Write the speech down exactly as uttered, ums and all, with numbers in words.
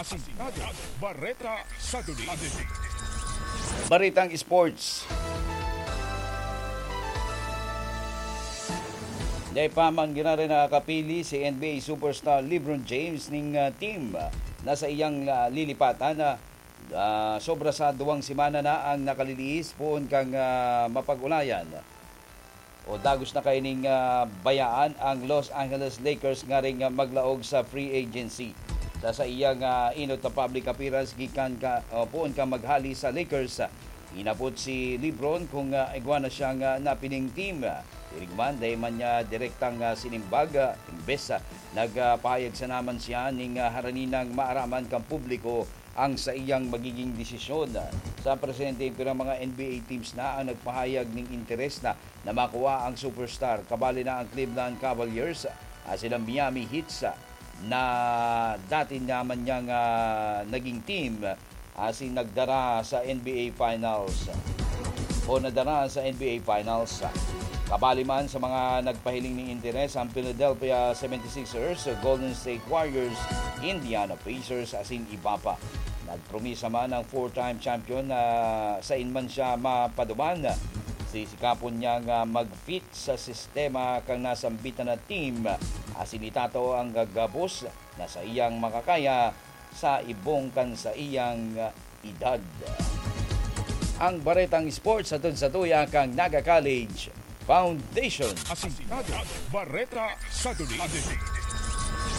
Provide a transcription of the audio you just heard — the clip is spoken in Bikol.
Asintado, Bareta sa Dulig. Baretang Sports. Dai pa man giraray nakakapili si N B A superstar LeBron James ning, ah, team na sa iyang, ah, lilipatan na, ah, sobra sa duwang semana na ang nakaliliis poon kan, ah, mapag-ulayan. O dagos na kaining, ah, bayaan ang Los Angeles Lakers ngaring, ah, maglaog sa free agency. Sa saiyang, ah, inot na public appearance gikan ka, o poon ka maghali sa Lakers, ah, inapot si LeBron kung, ah, igwa na siyang, ah, napiling team. Pirigman, dai man niya direktang, ah, sinimbag, ah, imbes, ah, nagpahayag sana man siya ning, ah, haraninang maaraman kan publiko ang saiyang magiging desisyon. Sa presente, pirang mga N B A teams na ang nagpahayag ning interes na na makuha ang superstar. Kabali na ang Cleveland Cavaliers, asin ang Miami Heat, na dati naman niyang, ah, naging team, asin nagdara sa N B A Finals o nadara sa N B A Finals. Kabali man sa mga nagpahiling ning interes ang Philadelphia seventy-sixers, Golden State Warriors, Indiana Pacers, asin iba pa. Nagpromisa man ang four-time champion na sain man siya mapaduman, sisikapon niyang, ah, mag-fit sa sistema kan nasambitan na team, asin itatao ang gabos na saiyang makakaya sa ibong kan saiyang edad. Ang Baretang Sports hatod satuya kan Naga College Foundation. Asintado, Bareta sa Dulig.